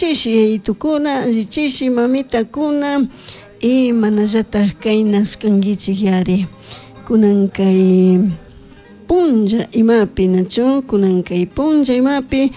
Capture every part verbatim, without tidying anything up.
Allichishi yayitukuna, allichishi mamitakuna y manallatak kaynashkankichik yari kunan kay punlla imapi nachu kunan kay punlla imapi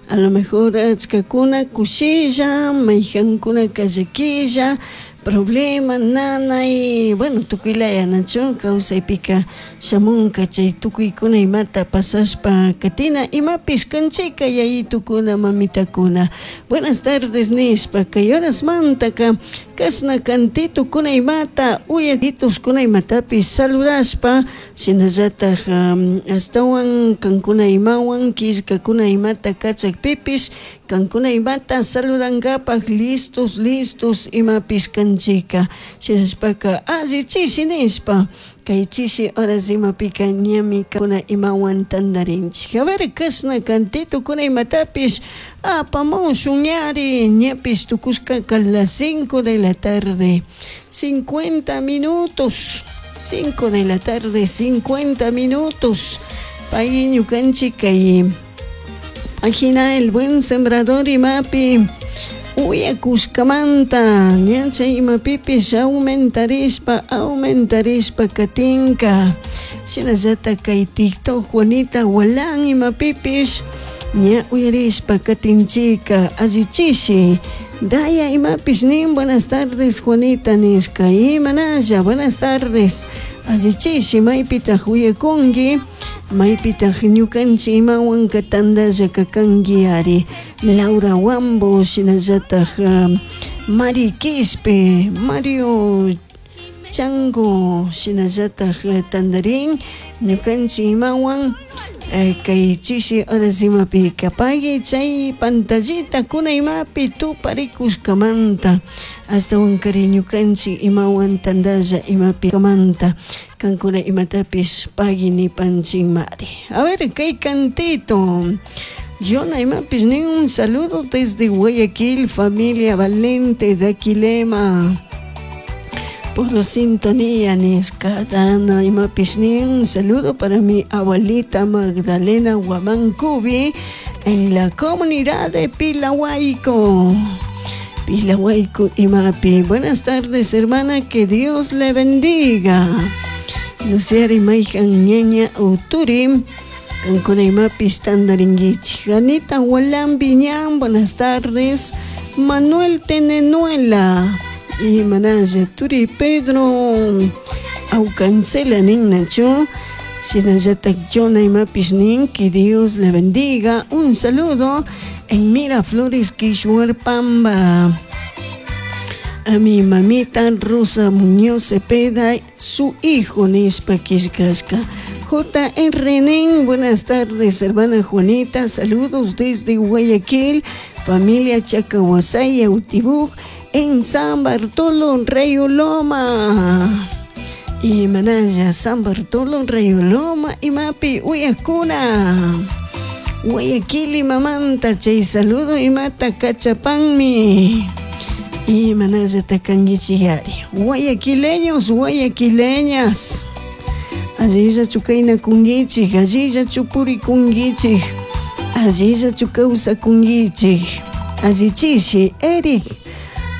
a lo mejor achkakuna kushilla mayjankunaka llakilla problema nanay bueno tukuylaya nachu kawsaypika shamunka chay tukuykuna imata pasashpa katina imapish kanchika yayitukuna mamitakuna. Buenas tardes nishpa kay horasmantaka kashna kantitukuna imata uyatitukuna imatapish saludashpa shinallatak ashtawan kankuna imawan killkakuna imata kachakpipish kankuna imata saludankapak listos listos imapish kanchika shinashpaka alli chishi nishpa kay chishi horas imapika ñami kuna imawan tantarinchik. A ver kashna kantitukuna imatapish apamushun ñari ñapish tukushkaka las cinco de la tarde cincuenta minutos cinco de la tarde cincuenta minutos pay ñukanchik kay página El Buen Sembrador imapi uyakushkamanta ña chay imapipish aumentarishpa aumentarishpa katinka shinallatak kay TikTok Juanita Gualan imapipish ña uyarishpa katinchika allichishi Daya imapish nin buenas tardes Juanita nishka imanalla buenas tardes allichishi maypitak uyakunki maypitak ñukanchik imawanka tantalla kakanki ari Laura Wambo shinallatak Mari Quispe Mario Chango shinallatak tantarin ñukanchik imawan kay chishi horas imapika pagui chay pantallita kuna imapi tuparikushkamanta ashtawankari ñukanchik imawan tantalla imapi kamanta kankuna imatapish pagui nipanchikmari. A ver kay cantito Yona imapish nin un saludo desde Guayaquil, familia Valente de Aquilema por sintonía nishka Dana imapish nin un saludo para mi abuelita Magdalena Guamancubi en la comunidad de Pilahuayco. Pilahuayco imapi. Buenas tardes, hermana, que Dios le bendiga. Luciari mayjan ñaña uturi kankuna imapish tantarinkichik. Janita Gualan Viñán, buenas tardes. Manuel Tenenuela y manalla turi Pedro Aucancela nin nachu shinallatak Jonah imapish nin que Dios le bendiga. Un saludo en Miraflores, Quishuarpamba. A mi mamita Rosa Muñoz Cepeda, su hijo nishpa killkashka. J R nin, buenas tardes, hermana Juanita, saludos desde Guayaquil, familia Chacahuasay, Autibuj, en San Bartolo, Rayo Loma. Y manaya, San Bartolo, Rayo Loma, imapi, uyakuna. Guayaquil y mamanta, chay saludo y mata cachapanmi. Y manaya takangichiyari. Guayaquileños, guayaquileñas. Allilla chukayna kungichik, allilla chupuri kungichik, allilla chukawsa kungichik, allichishi Eric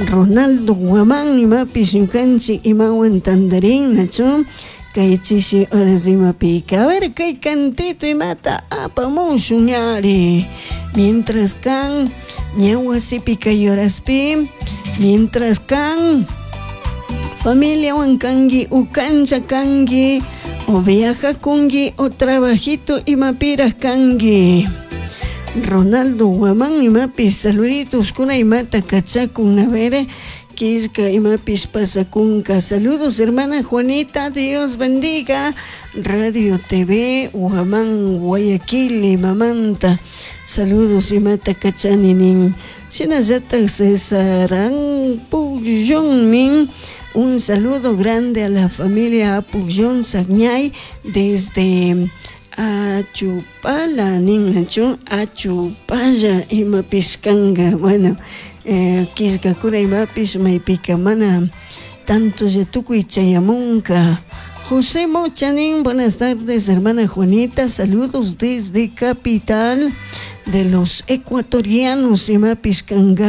Ronaldo Guamán imapish ñukanchik imawan tantarin nachu kay chishi horas imapika. A ver kay cantito imata apamushun ñari mientras kan ña wasipi kay horaspi mientras kan familiawan kanki ukancha kanki o viaja kunki o trabajito imapiraj kanki. Ronaldo Guamán imapis saluditos kuna imata kachakun a ver killka imapis pasakunka. Saludos hermana Juanita, Dios bendiga. Radio T V Guamán Guayaquil imamanta saludos imata kachani nin. Shinallatak César Pugyón nin un saludo grande a la familia Pugyón Sagñay desde Achupala nin nachu Achupalla imapish kanka. Bueno, eh, killkakuna imapish maypika mana tanto tukuy chayamunka. José Mochanin, buenas tardes, hermana Juanita, saludos desde capital de los ecuatorianos imapis kanka.